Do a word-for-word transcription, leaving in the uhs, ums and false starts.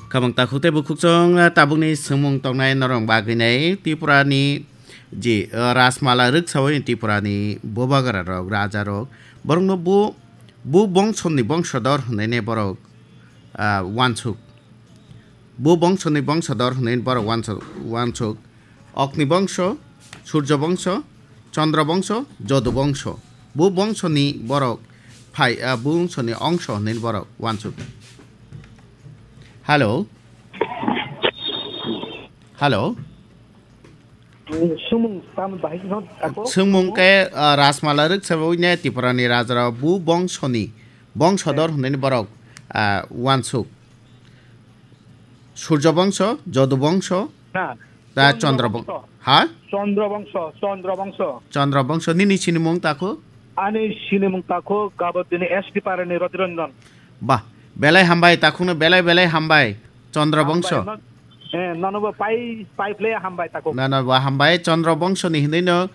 Khamang takhuk tei bukhuk chwng, ah, tabukni swngmung tongnai norok bagwi nai Tripura ni ji, ah, Rajmala rwksawi Tripura ni bubagra rok, raja rok, borokno bu, bu bongso ni bongso dor hwnwi ne borok, ah, wansuk. Bu bongso ni bongso dor hwnwi borok wansuk, wansuk. Okni bongso, Surjo bongso, Chandra bongso, Jodu bongso. Bu bongso ni borok phai, ah, bu bongso ni ongso hwnwi borok wansuk. Hello. Hello. Sumung tam bahai no tako. Sumung ke, ah, Rajmala rwksawi ne Tripura ni raja rok bu bongso ni bongso dor hwnwi borok, ah, wansuk. Surjo bongso, Jodu bongso, na, ta Chandra Chandra bong-, bongso. Ha? Chandra bongso, Chandra bongso. Chandra bongso, nini sinimung takhuk? Ani sinimung takhuk, gabot dini S T Parani Roti Ranjan. Bah, belai hambai, takhukno belai belai hambai, Chandra bongso. Hambai, non-, eh, nono bo pai, pai phle hambai takhuk. Nono bo hambai, Chandra bongso ni hinwi no